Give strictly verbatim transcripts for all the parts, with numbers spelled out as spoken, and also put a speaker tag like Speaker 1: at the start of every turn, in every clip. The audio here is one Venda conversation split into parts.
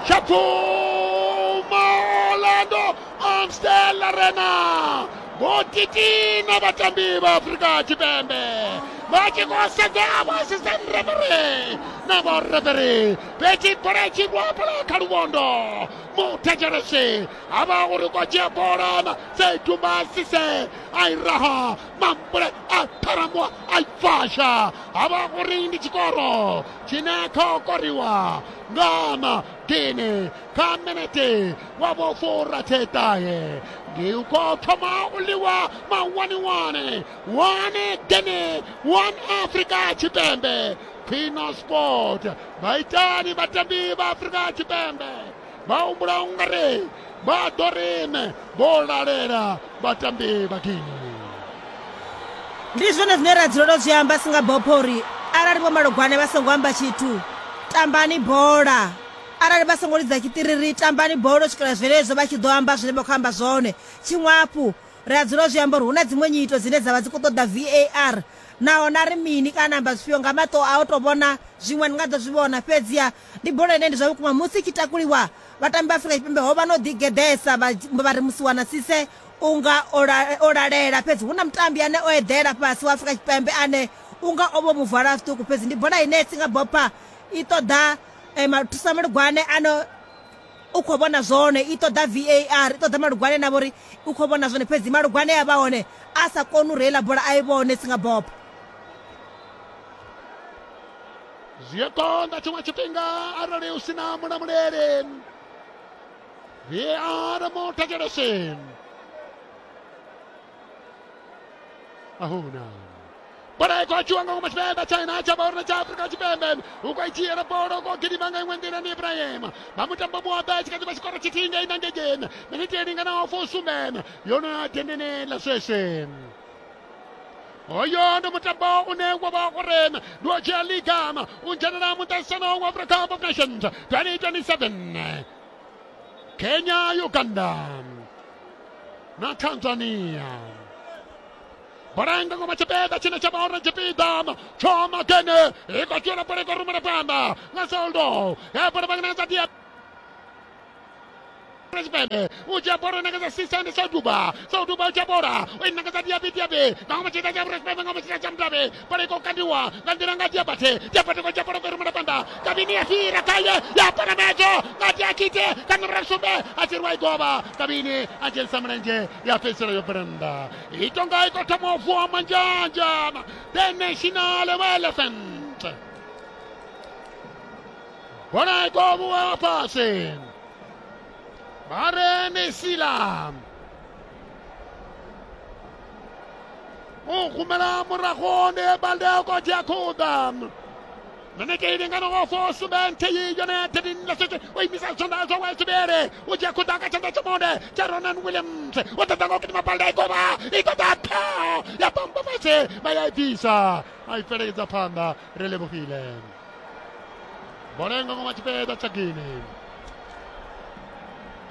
Speaker 1: Shapuma Orlando Amstel Arena vho titina vhatambi vha Afrika Tshipembe vha tshi khou sedza vho assistant referee na vho referee fhedzi bola i tshi rwa hafhaḽa kha luvhondo muthetshelesi ha vha uri khou dzhia bola Seydouba Cissé a i raha mambule a ṱharamuwa a i fasha ha vha uri ndi tshikoro tshine kha koriwa nga Magini kha minete wa vho furathetahe ndi khou thoma u ḽiwa mawaniwani one Guinea one Afrika Tshipembe Queen Sport vha itani vhatambi vha Afrika Tshipembe vha humbula ungari vha ḓo rime vho lalela vhatambi vha Guinea.
Speaker 2: Ndi zwone zwine ra dzulela u zwi amba singa bopho uri arali vho Malogwane vha songo amba tshithu tambani bola, arali vha songo lidza tshitiriri tambani bola u swikela zwenezwo vha tshi ḓo amba zwine vha khou amba zwone. Tshiṅwe hafhu ri a dzula u zwi amba uri hu na dziṅwe nyito dzine dza vha dzi khou ṱoḓa V A R naho na ri mini kana amba zwifhio nga maṱo a u tou vhona zwiṅwe ni nga ḓo zwi vhona, fhedziha ndi bola ine ndi zwa vhukuma musi i tshi takuliwa vhatambi vha Afrika Tshipembe ho vha no ḓigeḓesa vha ri musiwana Cissé unga o lalela, fhedzi hu na mutambi ane o eḓela fhasi wa Afrika Tshipembe ane unga o vho muvala zwiṱuku, fhedzi ndi bola ine singa bopha i ṱoḓa mathusa malugwane ano u khou vhona zwone, i ṱoḓa V A R, i ṱoḓa malugwane na vhori u khou vhona zwone, fhedzi malugwane a vha hone a sa koni u reila bola a i vhone singa bopha.
Speaker 1: Zwi a konḓa tshiṅwe tshifhinga arali u sina mulamuleli. V A R muthetshelesi ahuna bola i khou dzhiwa nga ngoma Tshipembe China tsha vha uri tsha Afrika Tshipembe u khou dzhiela bola u khou gidima nga iṅwe nḓila ndi Ibrahim vha mutambo muwaḓa tshi kha ḓi vha tshikoro tshithihi ngei na ngegeni miniti i linganaho fusumbe yo no ya dendeni ḽa sweswe. Hoyo ndi mutambo une wa vha uri ndi wa dzhia liga u dzhenela muṱaṱisano wa Africa Cup of Nations twenty twenty-seven Kenya, Uganda na Tanzania. Bola nga ngoma tshipiḓa tshine tsha vha uri tshipiḓa tsho Magene i khou dzhiela bola i khou rumela phanḓa nga Soldo ya bola vha nga dia Tshipembe u dzhia bola ṋekedza Cissé ndi Seydouba Seydouba u dzhia bola u i ṋekedza Diaby Diaby nga ngoma tshipiḓa tsha Afrika Tshipembe nga ngoma tshipiḓa tsha Mdabe bola i khou kandiwa nga nḓila nga Diabate Diabate khou dzhia bola khou rumela phanḓa Kabini ya fhira khaye ya panamedzo nga Diakite nga nomboro sumbe a tshi rwa i govha Kabini a dzhenisa mulenzhe ya fhedzisela yo bvela nnḓa i tonga i khou thoma u vuwa manzhanzha the national elephant bola i khou vhuwa fhasi Bare Sila u humela murahu ndi Balde u khou dzhia khuḓa miniti i linganaho fusumbe nthihi yone thirteen ḽa sweswe u imisa zwanḓa zwawe zwivhili u dzhia khuḓa nga tshanḓa tsha monde tsha Ronan Williams u ṱoḓa nga u gidima Balde i govha i ṱoḓa pha ya bamba fhasi vha ya i bvisa a i fhelekedza phanḓa ri livhuhile bola nga ngoma tshipiḓa tsha Guinea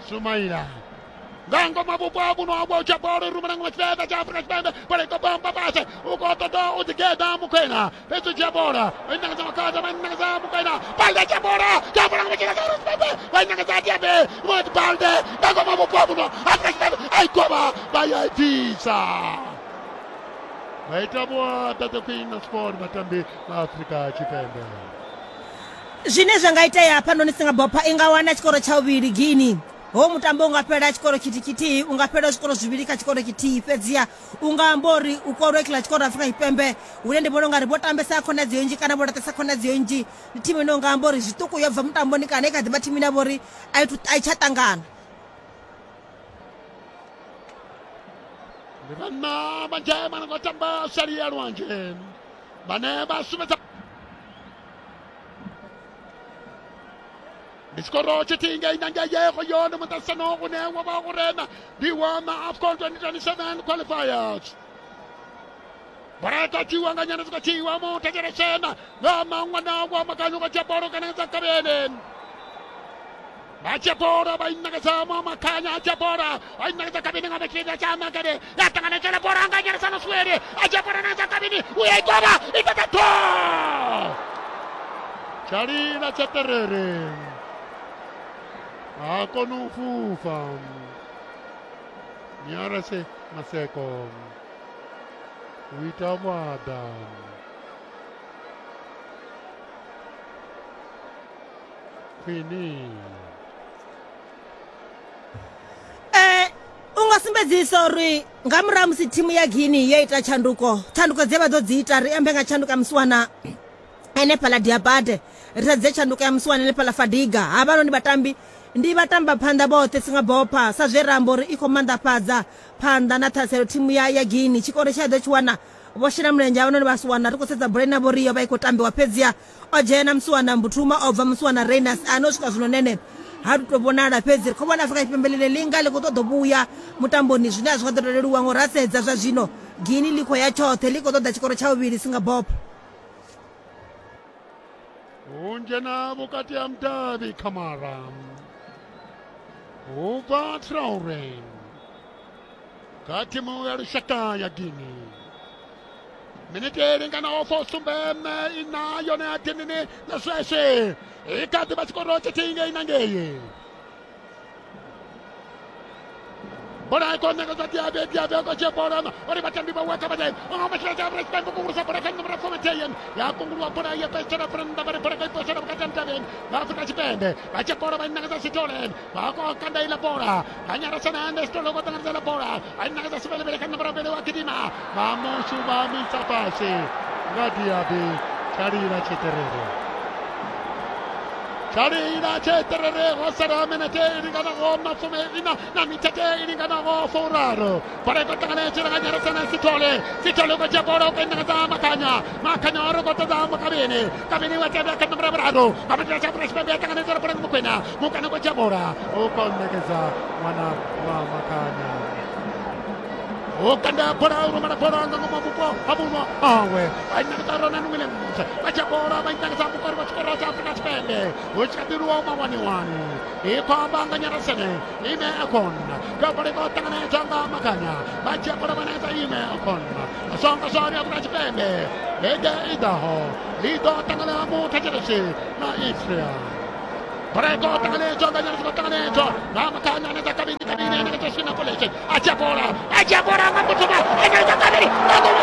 Speaker 1: Sumaila nga ngoma vhupo ha vhuno ha vho dzhia bola i rumela ngoma tshipiḓa tsha Afrika Tshipembe bola i khou bamba fhasi u khou ṱoḓa u ḓigeḓa Mukwena fhedzi u dzhia bola i ṋekedza Makhadza vha ṋekedza Mukwena Balde dzhia bola dzhia bola ngoma tshipiḓa tsha Afrika Tshipembe vha i ṋekedza Diaby vho Balde nga ngoma vhupo ha vhuno Afrika Tshipembe a i govha vha ya i bvisa vha ita vhuaḓa the Queen of Sport vhatambi vha Afrika Tshipembe.
Speaker 2: Zwine zwa nga itea hafhanoni singa bopha i nga wana tshikoro tsha vhuvhili Guinea ho mutambo unga fhela tshikoro tshithihi tshithihi unga fhela zwikoro zwivhili kha tshikoro tshithihi, fhedziha unga amba uri u korwe kha tshikoro Afrika Tshipembe hune ndi vhona ungari vho tambesa khonadzeo nnzhi kana vho laṱesa khonadzeo nnzhi ndi thimu ine unga amba uri zwiṱuku yo bva mutamboni kana i kha ḓi vha thimu ine ya vha uri a i tsha ṱangana.
Speaker 1: Ndi vhanna vha dzhema na khou tamba sali ya lwanzhe vhane vha sumbedza ndi tshikoro tshithihi ngei na ngei yego yone muṱaṱisano une wa vha uri ndi wa ma AFCON twenty twenty-seven qualifiers. Bola i khou dzhiwa nga nyana dzi khou dzhiwa muthetshelesena nga maṅwana wa makanyo khou dzhia bola kana dza Kabene vha dzhia bola vha i ṋekedza Makhanya a dzhia bola vha i ṋekedza Kabini nga tshipiḓa tsha Makene ya ṱanganedzela bola nga nyeresano Swele a dzhia bola ṋekedza Kabini u ya i govha i ṱoḓa tho tsha lila tsha terere Ha koni u fhufha. Nyarase Maseko u ita vhuaḓa. Khwini
Speaker 2: Eh u nga sumbedzisa uri nga murahu musi thimu ya Guinea yo ita tshanduko, tshanduko dze vha ḓo dzi ita ri ambe nga tshanduko ya musiwana henefhaḽa Diabate, ri sedze tshanduko ya musiwana henefhaḽa Fadiga. Havhanoni vhatambi ndi vhatamba phanḓa vhoṱhe singa bopha sa zwe ra amba uri i khou manḓafhadza phanḓa na ṱhaselo thimu ya ya Guinea. Tshikoro tsha ḓo tshi wana vho shela mulenzhe havhanoni vha siwana ri khou sedza bola ine vho ri yo vha i khou tambiwa fhedziha o dzhena musiwana Mbuthuma o bva musiwana Reynas ano swika zwino nene ha tu tou vhonala, fhedzi ri khou vhona Afrika Tshipembe ḽine ḽi nga ḽi khou ṱoḓa vhuya mutamboni zwine a zwi nga ḓo to leluwa ngori ra sedza zwa zwino Guinea ḽi khou ya tshoṱhe ḽi khou ṱoḓa tshikoro tsha vhuvhili singa bopha.
Speaker 1: U dzhena vhukati ha mudavhi Kamara u bva Traore kha thimu ya lushaka ya Guinea. Minete i linganaho fusumbe ina yone ya Guinea na sweswe i kha ḓi vha tshikoro tshithihi ngei na ngei. Bola i khou ṋekedzwa Diaby, Diaby u khou dzhia bola uri vhatambi vhawe kha vha o matshila tsha Afrika Tshipembe kungulusa bola kha nomoro fuminthihi ya kunguluwa bola ya fhedzisela nnḓa vha ri bola kha i posela vhukati ha mudavhi vha Afrika Tshipembe vha dzhia bola vha i ṋekedza Sithole vha khou kanda iḽa bola nga Nyarasana ende Sithole u khou ṱanganedza iḽa bola a i ṋekedza Sibelebele kha nomoro mbili wa gidima vha mushu vha misa fhasi nga Diaby tsha lila tshiṱerere tsha lila tshiṱerere ho sala minete i linganaho mafumi ina na mitete i linganaho furaru. Bola i khou ṱanganedzela nga Nyarasana Sithole, Sithole u khou dzhia bola u khou i ṋekedza Makhanya, Makhanya uri u khou ṱoḓa Mukavhini, Kavhini wa tevhela kha nomoro ya vhuraru nga matshila tsha Afrika Tshipembe ya ṱanganedzela bola nga Mukwena, Mukwena u khou dzhia bola u khou ṋekedza ṅwana wa Makhanya. U kanda bola u rumela bola nga ngomu vhupo ha vhuno hawe vha i ṋekedza Ronan Williams vha dzhia bola vha i ṋekedza mukori wa tshikoro tsha Afrika Tshipembe hu tshi kha ḓi lwiwa mawaniwani i khou amba nga Nyarasene Ime Akon ka bola i khou ṱanganedzwa nga Makhanya vha dzhia bola vha ṋekedza Ime Akon songo swari Afrika Tshipembe vhege i ḓaho ḽi ḓo ṱangana muthetshelesi na Israel. Bola i khou ṱanganedzwa nga Nyarasene ṱanganedzwa nga Makhanya ṋekedza Kabini, Kabini ṋekedza Sina Polese a dzhia bola a dzhia bola nga Mbuthuma a ṋekedza Kabini nga ngomu.